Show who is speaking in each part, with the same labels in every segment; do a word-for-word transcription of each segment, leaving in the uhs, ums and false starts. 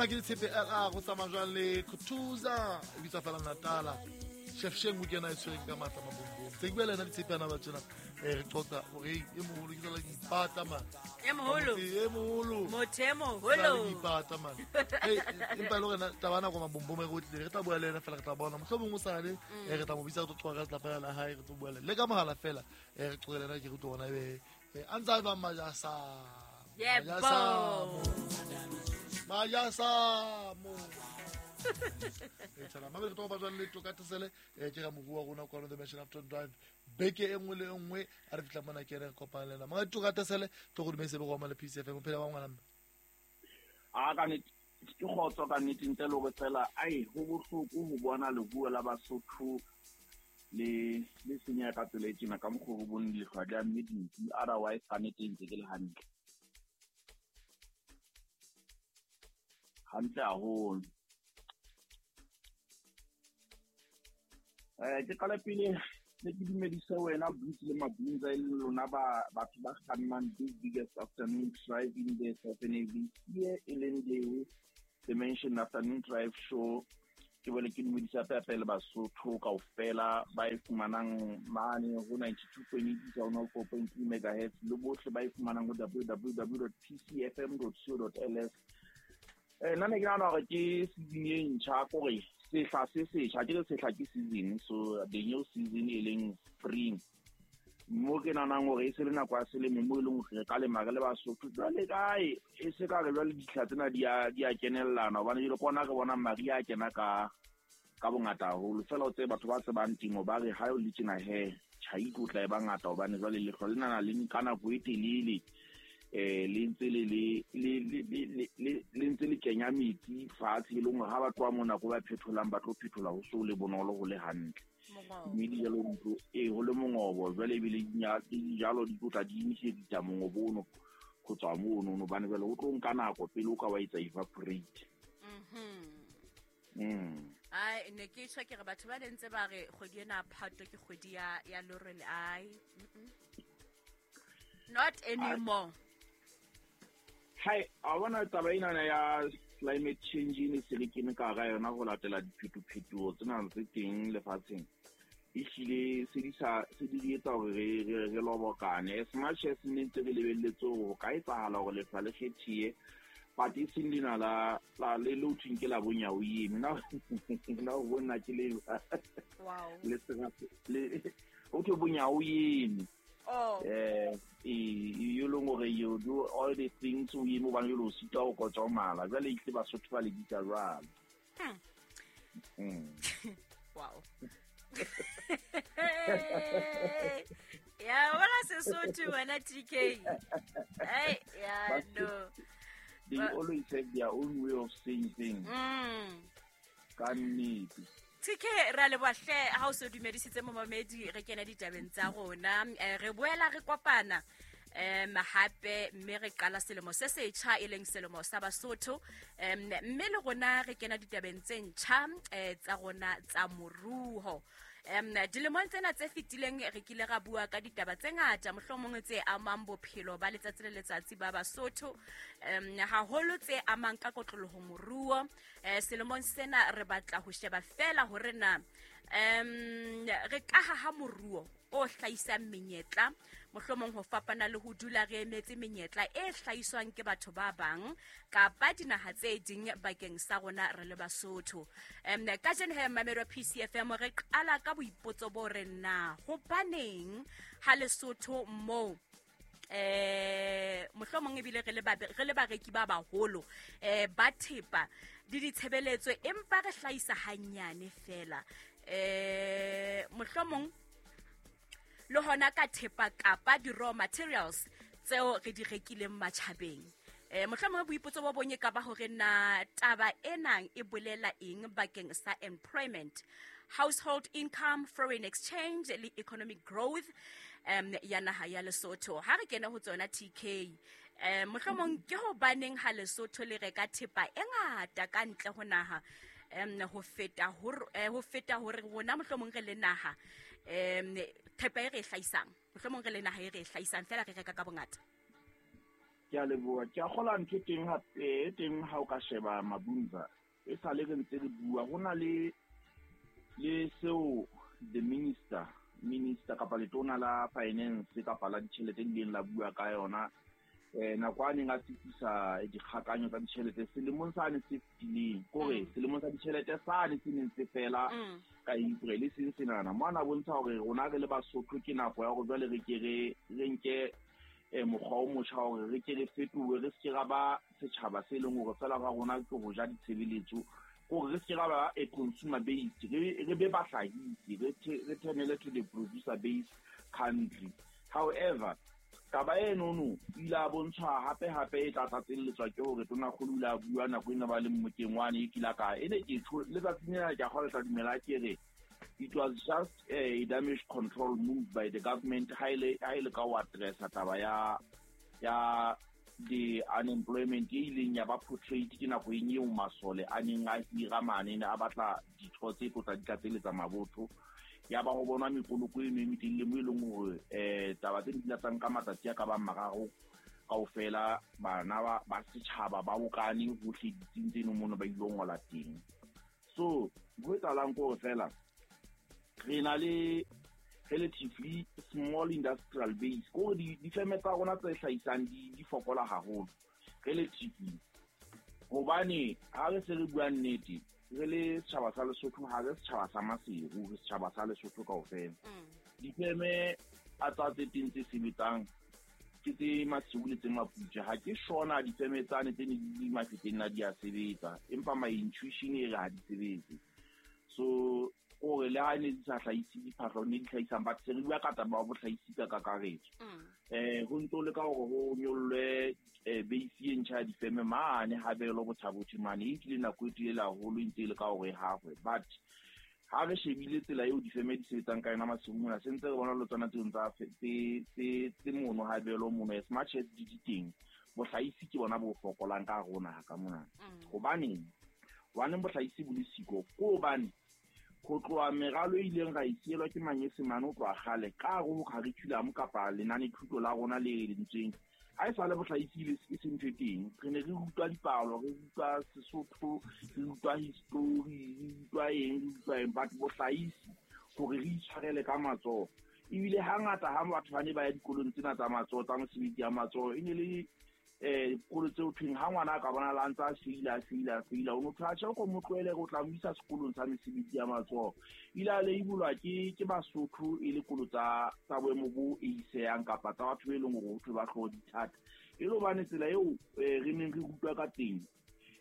Speaker 1: Ana ke Tshepe L R go tsamaya jwang le Khutuza e bitsa fela Natala. Chef Sheng o kena e tshwereng ka matla mabombong. Tse ke bua le ena Ditshepe ana ba tjena eh re qoqa hore e moholo ke tsela ke ipata man.
Speaker 2: E moholo.
Speaker 1: E moholo.
Speaker 2: Motho e moholo.
Speaker 1: Ke ipata man. Hey empa le hore taba nako mabombong e re tlile re tla bua le ena fela re tla bona. Mohlomong o sale eh re tla mo bitsa re tlo qoqa ka selapa la hae re tlo bua le le ka mohala fela eh re qoqele ena ke re tlo bona ebe a ntsa ba majasa.
Speaker 2: Yebo.
Speaker 1: Majasa mo. E tsala mabele to ba jwang le toka tsele e ke ga moruwa rona kwa the Mansion Afternoon Drive beke e nngwe le e nngwe a re fitla mona ke re kopana le ena manga toka tsele to go dumetse go amala P C F M phela ba ngwana mme
Speaker 3: a ka ne ke khotso ka nnete ntle le go tsela ai ho bohloko ho bona leruo la Basotho le le senya ka tsela e tjena ka mokgwa go bone lehlwa di amme dintsi otherwise ka nnete ntse ke le hantle hantle haholo. Eh ke qala pele ne ke dumedise wena Boots le Mabunza e le lona ba batho ba kgannang the biggest afternoon drive in the Southern A B C e leng the Dimension Afternoon Drive Show. Ke bole ke dumedisa pepe le Basotho kaofela ba e fumanang mane ho ninety-two point eight one four point three megahertz le bohle ba e fumanang ho w w w dot p c f m dot co dot l s. Eh nna ne ke nahana hore ke season e ntjha kore sehla se setjha ke sehla ke season so the new season e leng spring mo ke nahanang hore e se le nako ya selemo mo e leng hore re ka lema re le Basotho jwale kae e se ka re jwale ditlha tsena di a di a kenellana hobane jwale kona re bona mariha a kena ka ka bongata haholo fela o tsebe batho ba tsebang temo ba re ha o le tjena he tjhai e tlo tla e ba ngata hobane jwale lehlwa lena le nka nako e telele eh le ntse le le le le le ntse le kenya metsi fatshe e leng hore ha ba tloha mona ko ba phetholang ba tlo phethola ho so le bonolo ho le hantle mme dijalo ntlo e ho le mongobo jwale ebile dijalo di tlotla di emiseditsa mongobo ono go tswa mono hobane jwale o tlo nka nako pele o ka wa etsa evaporate. Mm.
Speaker 2: Ai ne ke tjho ke re batho ba ntse ba re kgwedi ena Phato ke kgwedi ya ya lorele ai. Not anymore.
Speaker 3: Hai, a bona taba ena ya climate change ne se le kene ka ga yona go latela diphetophetoho tsena tse teng lefatsheng. E hlile se di sa se di etsa hore re re re lobokane as much as ne ntse re lebelletse hore ho ka etsahala hore lefa le kgethiye but e seng lena la la le le thweng ke la bonya o eme na na o bona ke le
Speaker 2: wow
Speaker 3: le sera le o thwe bonya o eme.
Speaker 2: Oh.
Speaker 3: Eh, you long hore you do all the things o eme hobane jwale o sitwa ho kotsomala jwale e tle Basotho ba le bitsa jwalo. Mm.
Speaker 2: Wow. Ya wala Sesotho wena T K. Hey, yeah, no.
Speaker 3: They
Speaker 2: but,
Speaker 3: always have their own way of saying things.
Speaker 2: Mm.
Speaker 3: Ka nnete.
Speaker 2: T K ra leboha hle ha o so dumedisitse momamedi re kena ditabeng tsa rona re boela re kopana em hape mme re qala selemo se setjha e leng selemo sa Basotho em mme le rona re kena ditabeng tse ntjha tsa rona tsa moruo. Em dilemong tsena tse fetileng re kile ra bua ka ditaba tse ngata mohlomong tse amang bophelo ba letsatsi le letsatsi ba Basotho em haholo tse amang ka kotloloho moruo. Eh selemong sena re batla ho sheba fela hore na em re ka haha moruo o hlahisang menyetla mohlomong ho fapana le ho dula re emetse menyetla e hlahiswang ke batho ba bang kapa dinaha tse ding bakeng sa rona re le Basotho. Em kajeno he mamelo P C F M re qala ka boipotso bo re na hobaneng ha Lesotho moo eh mohlomong ebile re le ba re le bareki ba baholo eh ba thepa di ditshebeletso empa re hlahisa hanyane fela eh mohlomong le hona ka thepa kapa di raw materials tseo re di rekileng matjhabeng. Eh mohlomong boipotso bo bonye ka ba hore na taba enang e bolela eng bakeng sa employment, household income, foreign exchange le economic growth um ya naha ya Lesotho. Ha re kena ho tsona T K eh mohlomong ke hobaneng ha Lesotho le reka thepa e ngata ka ntle ho naha um ho feta hore ho feta hore rona mohlomong re le naha um thepa e re hlahisang mohlomong re le naha e re hlahisang fela re reka ka bongata.
Speaker 3: Ke a leboha. Ke a kgolwa ntho e teng hape e teng ha o ka sheba Mabunza e sale re ntse re bua ho na le le seo the minister minister kapa letona la finance kapa la ditjhelete le ileng la bua ka yona eh nako a neng a tsitsisa dikgakanyo tsa ditjhelete selemong sane se fetileng kore selemong sa ditjhelete sane se neng se fela ka April seng senana mo ana bontsha hore rona re le Basotho ke nako ya hore jwale re ke re re nke eh mokgwa o motjha hore re ke re fetohe re se ke ra ba setjhaba se leng hore fela ba rona ke ho ja ditshebeletso hore re se ke ra ba a consumer based re re be bahlahisi re re turnele to the producer based country. However, taba eno ile a bontshwa hape hape e tla tlatselletswa ke hore tonakgolo ile a bua nako ena ba le mmokeng wane e kila ka e ne ke tho letsatsing lena ke a kgona tla dumela ke re it was just a damage control move by the government ha ile ha ile ka wa addressa taba ya ya the unemployment e ileng ya ba portrayed ke nako eng eo masole a neng a hira mane ne a batla ditho tse tlo tla di tlatseletsa mabotho ya ba ho bonwa mekoloko eno e metelele mo e leng hore um taba tse di tla nka matsatsi a ka bang mararo kaofela bana ba ba setjhaba ba bokane hohle ditsing tseno mono ba ilo ngola teng. So ho etsahalang ke hore fela re na le relatively small industrial base kore difeme tsa rona tse hlahisang di di fokola haholo relatively hobane ha re se re bua nnete re le setjhaba sa Lesotho ha re setjhaba sa Maseru re setjhaba sa Lesotho kaofela. Difeme a tsa tse teng tse sebetsang ke tse Maseru le tse Maputswe ha ke shona difeme tsane tse ne di Mafeteng na di a sebetsa empa my intuition e re ha di sebetse. So kore le ha ne di sa hlahise diphahlo ne di hlahisang but se re bua ka taba ya bohlahisi ka kakaretso. Eh ho ntso le ka hore ho nyollwe base e ntjha ya difeme mane habelo Botha-Bothe mane e nkile nako e telele haholo e ntse e le ka hore e hahwe but ha re shebile tsela eo difeme di sebetsang ka yona Maseru mona se ntse re bona le tsona tseo tsa tse tse tse mono habelo mono as much as di teng bohlahisi ke bona bo fokolang ka rona ka mona. Hobaneng hobaneng bohlahisi bo le siko ke hobane ho tloha meralo e ileng ra e sielwa ke manyesemane ho tloha kgale ka hare ho curriculum kapa lenanethuto la rona le lentsweng ha e sale bohlahisi e se ntho e teng re ne re rutwa dipalo re rutwa Sesotho re rutwa history re rutwa eng re rutwa eng but bohlahisi hore re itshwarele ka matsoho ebile hangata ha batho ba ne ba ya dikolong tsena tsa matsoho tsa mosebetsi ya matsoho e ne le eh dikolo tseo thweng ha ngwana a ka bona la ntse a feila a feila a feila o motho a tjhe ko mo tlohele o tla mo isa sekolong sa mesebetsi ya matsoho ile a leibolwa ke ke Basotho e le kolo tsa tsa boemo bo eisehang kapa tsa batho be leng hore ho thwe ba hlooho dithata e le hobane tsela eo re neng re rutwa ka teng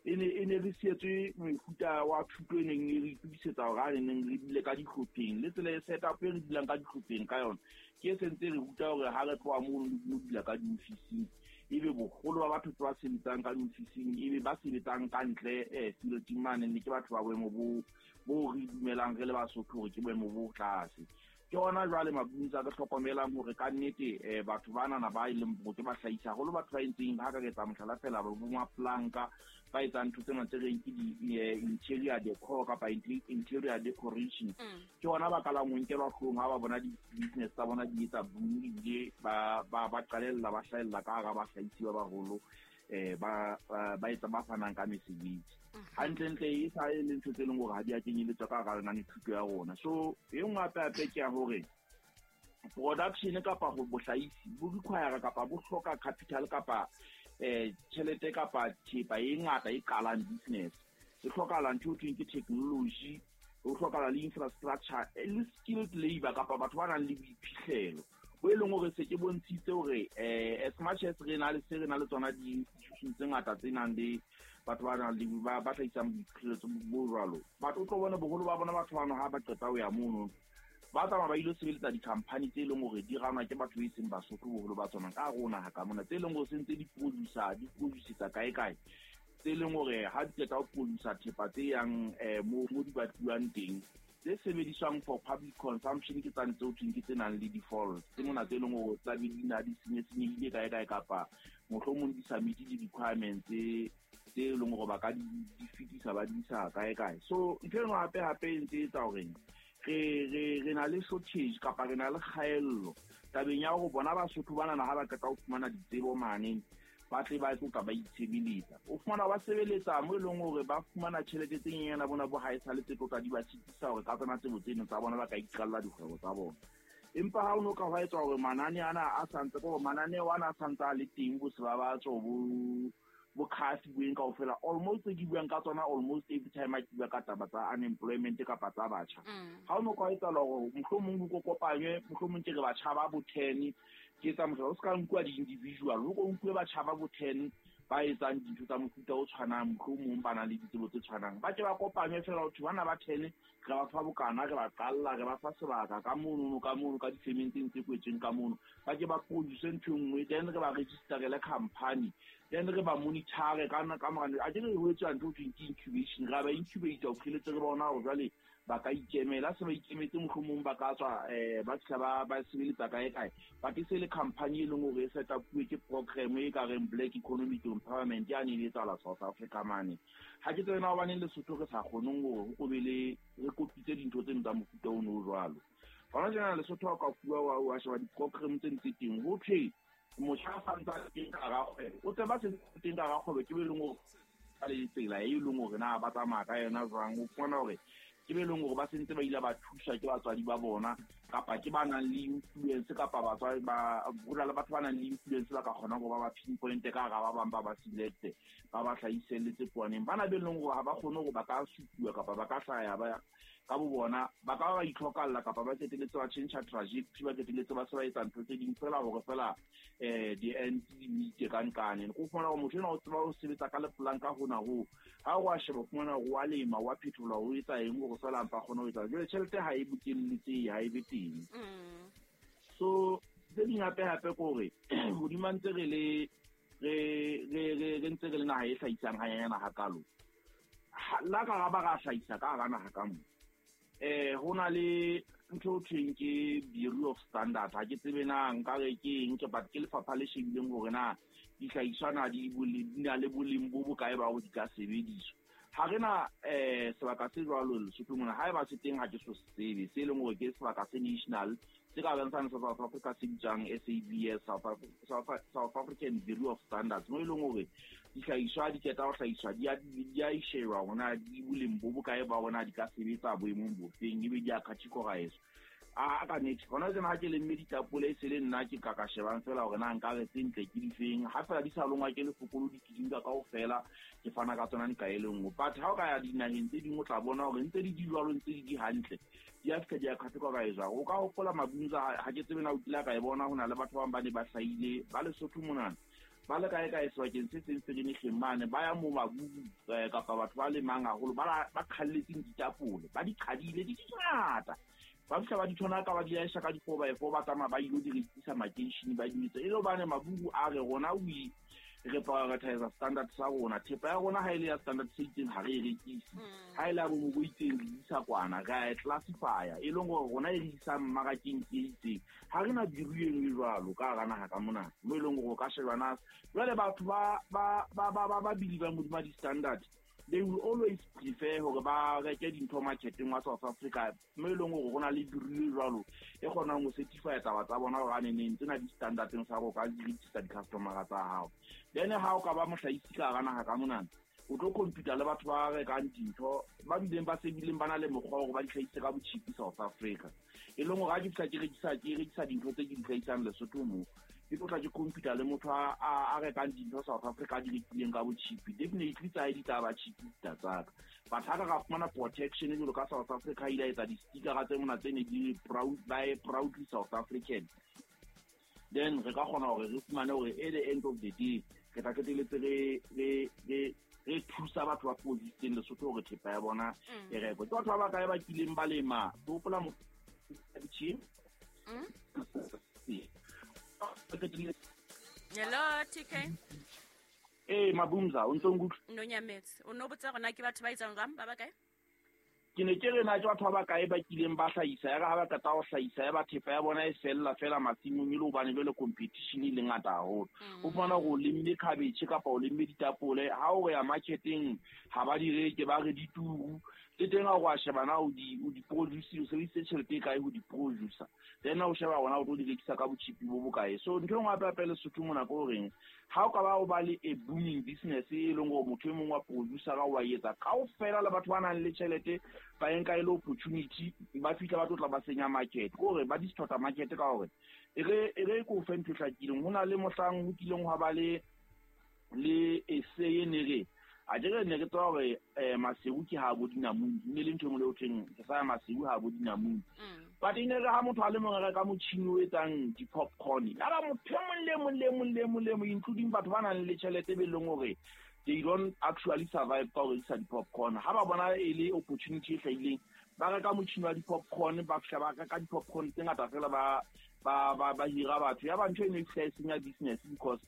Speaker 3: e ne e ne re sietswe mefuta wa thuto e neng e re itokisetsa hore a neng re dule ka dihlopheng le tsela e setup e re dulang ka dihlopheng ka yona ke e sentse re ruta hore ha re tloha mono re dula ka diofising ebe boholo ba batho ba sebetsang ka diofising ebe ba sebetsang ka ntle eh fielding mane ne ke batho ba boemo bo bo re dumelang re le Basotho hore ke boemo bo tlase. Ke hona jwale Mabunza re hlokomelang hore ka nnete eh batho banana ba e leng bo ke ba hlahisa haholo batho ba entseng ha ka re etsa mohlala fela ba bo maplanka ba etsang ntho tsena tse reng ke di interior decor kapa interior decoration ke hona ba qalang ho nkelwa hloohong ha ba bona di-business tsa bona di etsa boom ebile ba ba ba qalella ba hlahella ka hara bahlahisi ba baholo eh ba ba etsa ba fanang ka mesebetsi hantlentle e sa e le ntho tse leng hore ha di a kenyeletswa ka hara lenanethuto ya rona. So e nngwe hape hape ke ya hore production kapa ho bohlahisi bo require kapa bo hloka capital kapa eh tjhelete kapa thepa e ngata e qalang business e hlokahala ntho e thweng ke technology ho hlokahala le infrastructure le skilled labor kapa batho ba nang le boiphihlelo bo e leng hore se ke bontshitse hore eh as much as re na le se re na le tsona di-institution tse ngata tse nang le batho ba nang le ba ba hlahisang boiphihlelo bo jwalo batho o tlo bona boholo ba bona batho bano ha ba qeta ho ya mono ba tsamaya ba ilo sebeletsa di-company tse leng hore di ranwa ke batho e seng Basotho boholo ba tsona ka rona ha ka mona tse leng hore se ntse di producer di producer kae kae tse leng hore ha di qeta ho producer thepa tse yang eh mo mo di batluwang teng tse sebediswang for public consumption ke tsane tseo thweng ke tse nang le default tse mona tse leng hore tla be di na di senye-senyehile kae kae kapa mohlomong di sa meet di-requirements tse tse leng hore ba ka di di fetisa ba di isa kae kae. So ntho e nngwe hape hape e ntse e etsa hore re re re na le shortage kapa re na le kgaello tabeng ya hore bona Basotho banana ha ba qeta ho fumana ditsebo mane ba tle ba tlo ka ba itshebeletsa. O fumana ba sebeletsa mo e leng hore ba fumana tjhelete tse nyenyana bona bo ha e sale tse tlo tla di ba sitisa hore ka tsona tsebo tseno tsa bona ba ka iqalla dikgwebo tsa bona. Empa ha o no ka hwa etswa hore manane ana a santse ko mananeo ana a santse a le teng bo se ba ba tswa bo bo khafi bueng kaofela almost ke buang ka tsona almost every time a ke bua ka taba tsa unemployment kapa tsa batjha. Ha o no ka etsa hore mohlomong ho kopanywe mohlomong ke re batjha ba bo ten ke tsa mohlala o ska nkuwa di-individual ho ko nkuwe batjha ba bo ten ba etsang dintho tsa mofuta o tshwanang mohlomong ba nang le ditsebo tse tshwanang ba ke ba kopanywe fela ho thwe bana ba ten re ba fa bokana re ba qalla re ba fa sebaka ka mono ka mono ka difemeng tse kwetsweng ka mono ba ke ba produce ntho e nngwe then re ba registerele company then re ba monitor ka ka mora a ke re ho etswa ntho ho thweng ke incubation ra ba incubate ho fihletse re bona hore jwale ba ka ikemela se ba ikemetse mohlomong ba ka tswa eh ba fihla ba ba sebeletsa kae kae but e se le company e leng hore e set up-uwe ke program e ka reng Black Economic Empowerment ya ne e etsahala South Africa mane. Ha ke tsebe na hobaneng Lesotho re sa kgoneng hore ho be le re kopitse dintho tseno tsa mofuta ono o jwalo. Hona tjena Lesotho ha o ka fuwa wa wa sheba di-program tse ntse teng ho thwe motjha a santse a teng ka hara kgwebo o tseba se teng ka hara kgwebo ke be leng hore ka le tsela e leng hore na ba tsamaya ka yona jwang o fumana hore ke be leng hore ba sentse ba ile ba thuswa ke batswadi ba bona kapa ke ba nang le influence kapa batswadi ba ho na le batho ba nang le influence ba ka kgonang hore ba ba pinpoint ka hara ba bang ba ba select ba ba hlahiselletse poaneng. Bana be leng hore ha ba kgone hore ba ka supuwa kapa ba ka hlaya ba ka bo bona ba ka ba itlhokalla kapa ba qetelletse ba change trajectory ba qetelletse ba se ba etsa ntho tse ding fela hore fela eh di-ends di meet ka nkane. Ko fumana hore motho enwa o tseba ho sebetsa ka lepolanka hona hoo ha o a sheba fumana hore wa lema wa phethola o etsa eng hore fela mpa kgone ho etsa jwale tjhelete ha e bokelletsehe ha e be teng. So tse ding hape hape ke hore hodima ntse re le re re re ntse re le naha e hlahisang hanyanyana hakalo la ka ra ba ra hlahisa ka hara naha ka mo eh ho na le ntho ho thweng ke Bureau of Standard ha ke tsebe na nka re ke eng ke but ke lefapha le shebileng hore na dihlahiswa na di di na le boleng bo bokae ba hore di ka sebediswa. Ha re na eh sebaka se jwalo Lesotho mona ha eba se teng ha ke so tsebe se leng hore ke sebaka se national se ka bang sa South Africa se bitswang S A B S South South African Bureau of Standards mo e leng hore dihlahiswa di qeta ho hlahiswa di a di a shejwa hore na di boleng bo bokae ba hore na di ka sebetsa boemong bofeng ebe di a categorize. A ka nnete hona tjena ha ke lemme ditapole e se le nna ke ka ka shebang fela hore na nka re tse ntle ke difeng ha fela di sa longwa ke lefokolo di ke di nka kaofela ke fana ka tsona nka e le nngwe. But ha o ka ya dinaheng tse ding o tla bona hore ntse di di jwalo ntse di di hantle di a fihla di a categorize. O ka hopola Mabunza ha ke tsebe na o kile ka e bona ho na le batho ba bang ba ne ba hlahile ba Lesotho monana ba le kae kae sebakeng se seng se le mane ba ya mo mabubu kapa batho ba lemang haholo ba ba qhalletseng ditapole ba di qhadile di dingata ba fihla ba di thona ka ba di aisha ka di four by four ba tsamaya ba ilo di rekisa makeishene ba di etsa e le hobane mabubu a re rona we re prioritize standard sa rona thepa ya rona ha e le ya standard se itseng ha re e rekise ha e le ya bomo bo itseng re isa kwana re a e classifya e leng hore rona e re isang mmarakeng ke e itseng ha re na bureau e nngwe jwalo ka hara naha ka mona mo e leng hore o ka sheba na jwale batho ba ba ba ba ba believe modima di-standard they will always prefer hore ba reke dintho marketeng wa South Africa mo e leng hore ho na le bureau jwalo e kgonang ho certify taba tsa bona hore a neneng tsena di-standardeng sa hore o ka di rekisa di-customera tsa hao. Then ha o ka ba mohlahisi ka hara naha ka monana o tlo compete le batho ba rekang dintho ba bileng ba sebileng ba na le mokgwa wa hore ba di hlahise ka botjhipi South Africa e leng hore ha ke fihla ke rekisa ke rekisa dintho tse ke di hlahisang Lesotho mo ke tlo tla ke compete le motho a a rekang dintho South Africa a di rekileng ka botjhipi definitely tsa hae di tla ba cheap tsa ka but ha ka ka fumana protection jwalo ka South Africa ile etsa di-stickera tse mona tse ne di proud by proudly South African then re ka kgona hore re fumane hore at the end of the day re tla qetelletse re re re re thusa batho ba produce-eng Lesotho hore thepa ya bona e rekwe. Ke batho ba bakae ba kileng ba lema ke hopola mo
Speaker 2: Hello T K.
Speaker 3: Eh Mabumza o ntso nkutlwa?
Speaker 2: No nyametse. O no botsa rona ke batho ba etsang jwang ba bakae?
Speaker 3: Ke ne ke re na ke batho ba bakae ba kileng ba hlahisa ya re ha ba qeta ho hlahisa ya ba thepa ya bona e fella fela masimong e le hobane jwale competition e le ngata haholo. O fumana hore o lemme cabbage kapa o lemme ditapole ha o ya marketeng ha ba di reke ba re dituru le teng ha o a sheba na o di o di produce o sebedisitse tjhelete e kae ho di producer then o sheba hona o tlo di rekisa ka botjhipi bo bokae. So ntho e nngwe hape hape Lesotho mona ke horeng Ha o ka ba o ba le a booming business e leng hore motho e mong wa producer wa etsa kaofela le batho ba nang le tjhelete ba nka e le opportunity ba fihla ba tlo tla ba senya market kore ba distort market ka hore e re e re ko fe ntho hlakileng ho na le mohlang ho kileng hwa ba le le essay ne re a jere ne re tswa hore Maseru ke ha bo dinamune ne le ntho e nngwe le ho thweng ke sa Maseru ha bo dinamune but ine re ha motho a le mong a reka motjhini o etsang di-popcorn ya ba motho e mong le mong le mong le mong le mong including batho ba nang le tjhelete be leng hore they don't actually survive ka ho rekisa di-popcorn ha ba bona e le opportunity e hlahileng ba reka motjhini wa di-popcorn ba fihla ba reka di-popcorn tse ngata fela ba ba ba ba hira batho ya ba ntho e ne e fihla e senya business because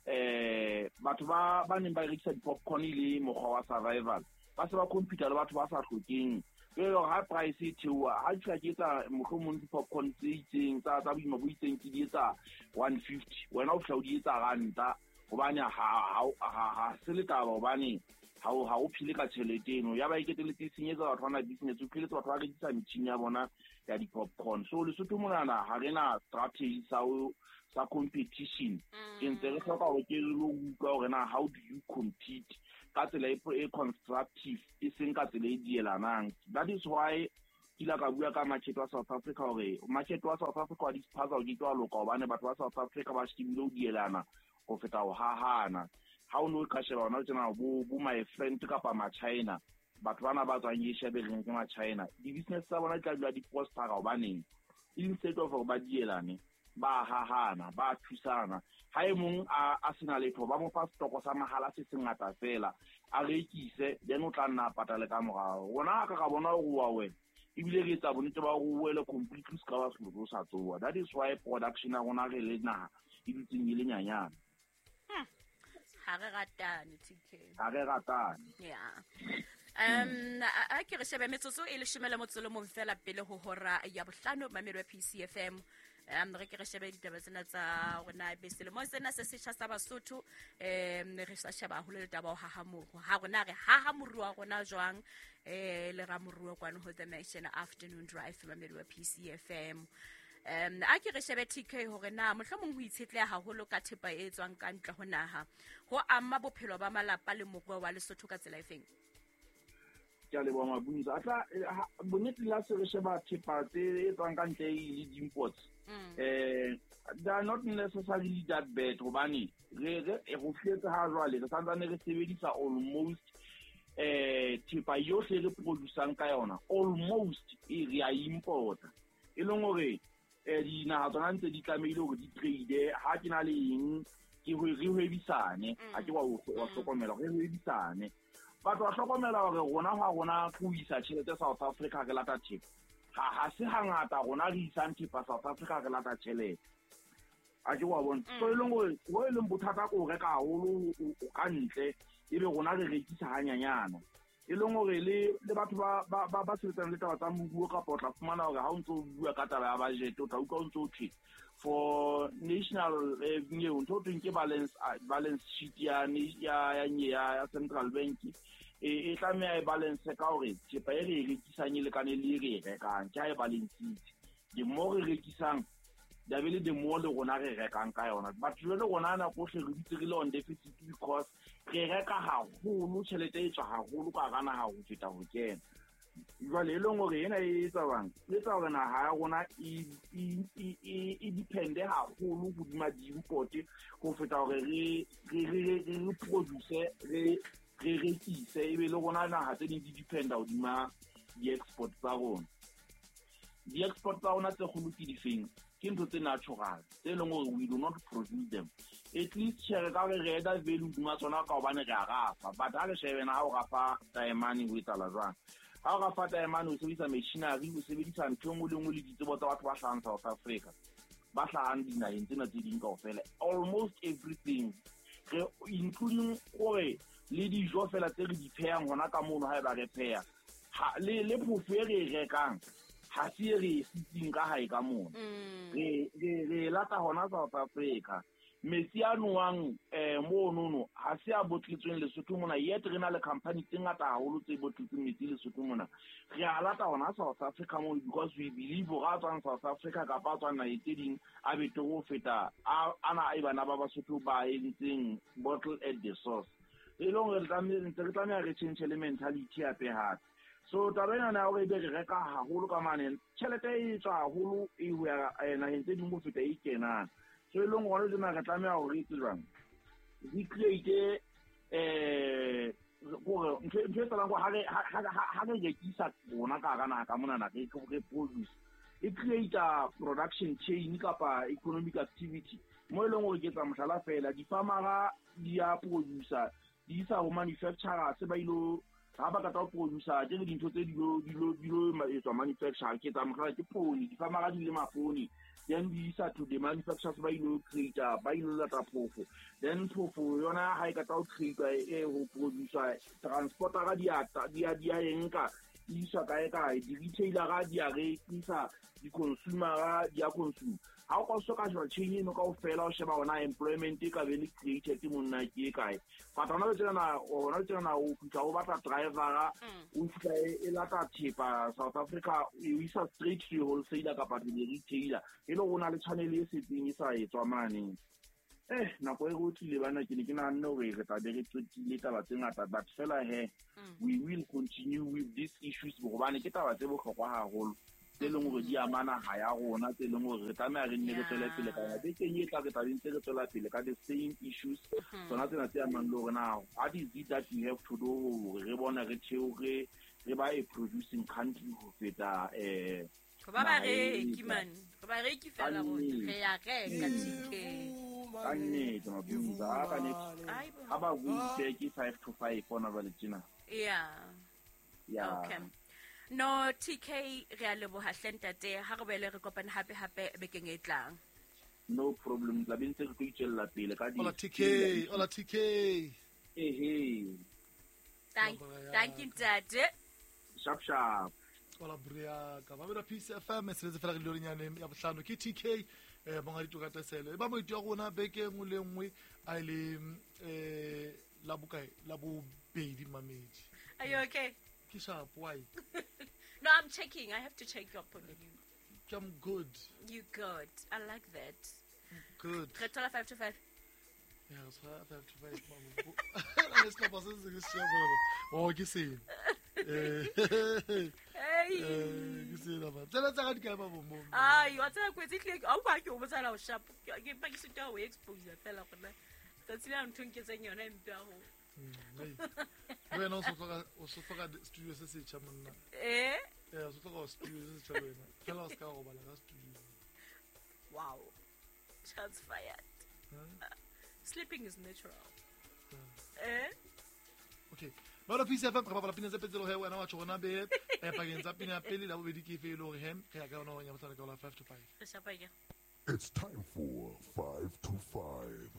Speaker 3: eh batho ba ba neng ba rekisa di-popcorn e le mokgwa wa survival ba se ba computer le batho ba sa hlokeng jwale hore ha price e theoha ha ke fihla ke etsa mohlomong di-popcorn tse itseng tsa tsa boima bo itseng ke di etsa one fifty wena o fihla o di etsa ranta hobane ha ha ha se le taba hobane ha o ha o phile ka tjhelete eno ya ba e keteletse e senyetsa batho ba na business o pheletse batho ba rekisa metjhini ya bona ya di-popcorn so Lesotho monana ha re na strategy sa ho sa competition ke ntse re hloka hore ke re lo utlwa hore na how do you compete ka tsela e constructive e seng ka tsela e dielanang that is why ke ile ka bua ka market wa South Africa hore market wa South Africa wa dispaza o ke ke wa loka hobane batho ba South Africa ba shebile ho dielana ho feta ho hahana ha o no ka sheba hona tjena bo bo my friend kapa ma China batho bana ba tswang Asia be reng ke ma China di-business tsa bona di tla dula di prospera hobaneng instead of hore ba dielane ba hahana ba thusana ha e mong a a sena letho ba mo fa stoko sa mahala se sengata fela a rekise then o tla nna patale ka morao rona ka ka bona hore wa wena ebile re etsa bonnete ba hore o wele completely se ka ba selo sa tsoa that is why production ya rona re le naha e dutseng e le nyanyana
Speaker 2: ha re ratane T K
Speaker 3: ha re ratane
Speaker 2: yeah um a ke re shebe metsotso e leshome le motso le mong fela pele ho hora ya bohlano mamelo ya P C F M um re ke re shebe ditaba tsena tsa rona be selemo sena se setjha sa Basotho um re sa sheba haholo le taba ho haha moruo ha rona re haha moruo wa rona jwang eh le ramoruo kwano ho The Mansion Afternoon Drive mamelo ya P C F M um a ke re shebe T K hore na mohlomong ho itshetleha haholo ka thepa e tswang ka ntle ho naha ho ama bophelo ba malapa le moruo wa Lesotho ka tsela efeng
Speaker 3: ke a leboha Mabunza a tla bonnete la se re sheba thepa tse e tswang ka ntle e le di-imports eh they are not necessarily that bad hobane re re ho fihletse ha jwale re santsane re sebedisa almost eh thepa yohle re producang ka yona almost e re a importa e leng hore eh dinaha tsona ntse di tlamehile hore di trade ha ke na le eng ke ho re hwebisane ha ke wa wa hlokomela re hwebisane batho ba hlokomela hore rona ha rona ho isa tjhelete South Africa re lata thepa ha ha se hangata rona re isang thepa South Africa re lata tjhelete a ke wa bona so e leng hore ho e leng bothata ko reka haholo ka ntle ebe rona re rekisa hanyanyana e leng hore le le batho ba ba ba sebetsang le taba tsa moruo kapa o tla fumana hore ha o ntso bua ka taba ya budget o tla utlwa o ntso thwe for national eo ntho thweng ke balance balance sheet ya ya ya ya central bank e e tlameha e balance ka hore thepa e re e rekisang e lekane le e re e rekang ke ha e balansitse the more re rekisang da be le the more le rona re rekang ka yona but jwale rona nako ohle re dutse re le on deficit because re reka haholo tjhelete e tswa haholo ka hara naha ho feta ho kena jwale e leng hore ena e etsa bang e etsa hore naha ya rona e e e depende haholo hodima di-import ho feta hore re re re re produce re re rekise ebe le rona naha tse ding di dependa hodima di-export tsa rona di-export tsa rona tse kgolo ke difeng ke ntho tse natural tse leng hore we do not produce them at least tjhe re ka re re add value hodima tsona ka hobane re a rafa but ha re shebe na ha o rafa taemane ho etsahala jwang ha o rafa taemane o sebedisa machinery o sebedisa ntho e nngwe le nngwe le ditsebo tsa batho ba hlahang South Africa ba hlahang dinaheng tsena tse ding kaofela almost everything re including hore le dijo fela tse re di phehang hona ka mono haeba re pheha le le phofo e re e rekang ha se re sitsing ka hae ka mona re re re lata hona South Africa Metsi a nowang eh monono ha se a botletsweng Lesotho mona, yet re na le company tse ngata haholo tse botletsweng metsi Lesotho mona. Re a lata hona South Africa mo because we believe hore a tswang South Africa kapa a tswang naheng tse ding a betere ho feta ana e bana ba Basotho ba entseng bottle at the source. E leng hore re tlameha re change le mentality hape hape. So taba ena ya hore ebe re reka haholo ka mane, tjhelete e tswa haholo e ho ya naheng tse ding ho feta e kenang. So e leng hore tsena re tlameha hore re etse jwang, re create eh hore ntho e tsalang ha re ha re rekisa rona ka hara naha ka monana, re re produce, e create production chain kapa economic activity mo e leng hore ke tsa mohlala fela, di-farmera di a producer di isa ho manufacturer se ba ilo ha ba ka producer ke dintho tse dilo dilo dilo etswa manufacturer. Ke tsa mohlala ke poone, di-farmera di lema poone, then di isa to the manufacturers ba ilo create ba ilo lata phofo, then phofo yona ha e ka tla create e ho producer transporter di a di a di a enka isa kae kae, di-retailer di a rekisa, di-consumer di a consume. Ha o ka so ka sheba chain eno kaofela, o sheba hona employment e ka be le created monna ke e kae. But hona le tsena hona le tsena o fihla o batla driver, o fihla e lata thepa South Africa e isa straight to wholesaler kapa to the retailer, e le hore o na le channel e setseng e sa etswa mane. Eh nako e re tlile bana, ke ne ke nahanne hore re tla be re qetile taba tse ngata, but fela he we will continue with these issues hobane ke taba tse bohlokwa haholo tse leng hore di ama naha ya rona, tse leng hore re tlameha re nne re tswele pele ka yona. Bekeng e tla re tla be ntse re tswela pele ka the same issues tsona tsena tse amang le hore na what is it that we have to do hore re bone re theohe re ba a producing country ho feta eh
Speaker 2: ba bareki man, ba bareki fela rona re ya reka T K.
Speaker 3: Ka nnete mabunza ka nnete ha ba butse ke five to five ona ba le tjena.
Speaker 2: Yeah.
Speaker 3: Yeah.
Speaker 2: Okay. No T K re a leboha hle ntate, ha re boele re kopane hape hape bekeng e tlang.
Speaker 3: No problem, tla be ntse re tlo itswella pele ka di.
Speaker 1: Hola T K, hola T K.
Speaker 3: Ehe.
Speaker 2: Thank thank you ntate.
Speaker 3: Sharp sharp.
Speaker 1: Hola bria ka ba bera Peace F M sebetse fela re lorinyane ya bohlano ke T K eh bonga ditokata sele. E ba moiti wa rona beke nngwe le nngwe a ile eh la bokae la bobedi mamedi.
Speaker 2: Are you okay?
Speaker 1: Ke sharp why?
Speaker 2: No, I'm checking. I have to check up on you.
Speaker 1: I'm good.
Speaker 2: You good. I like that.
Speaker 1: Good.
Speaker 2: Re thola five to five.
Speaker 1: Yeah, it's five to five. Mama. Let's go pass this. Oh, ke se. Eh.
Speaker 2: Hey.
Speaker 1: Eh, ke se la ba. Tsela tsa ga di kae ba bo mo.
Speaker 2: Ai, wa tsela kwetse tle. A o ba ke o botsala o sharp. Ke pa ke sita o expose fela gona. Tsatsi la ntho nketseng yona e mpe haholo.
Speaker 1: Wena o so hloka o so hloka studio se setjha monna.
Speaker 2: Eh?
Speaker 1: Eh, o so hloka studio se setjha wena. Fela o ska robala ka studio.
Speaker 2: Wow. Shots fired.
Speaker 1: Huh?
Speaker 2: Uh, sleeping is natural.
Speaker 1: Yeah.
Speaker 2: Eh?
Speaker 1: Okay. Ba Peace F M re bapala pina tse pedi tse wena wa tjho rona be eh pakeng tsa pina ya pele la bobedi ke efe e le hore hem re ya ka yona ya bohlano ka ola five to five.
Speaker 2: Re shapa ke.
Speaker 4: It's time for five to five.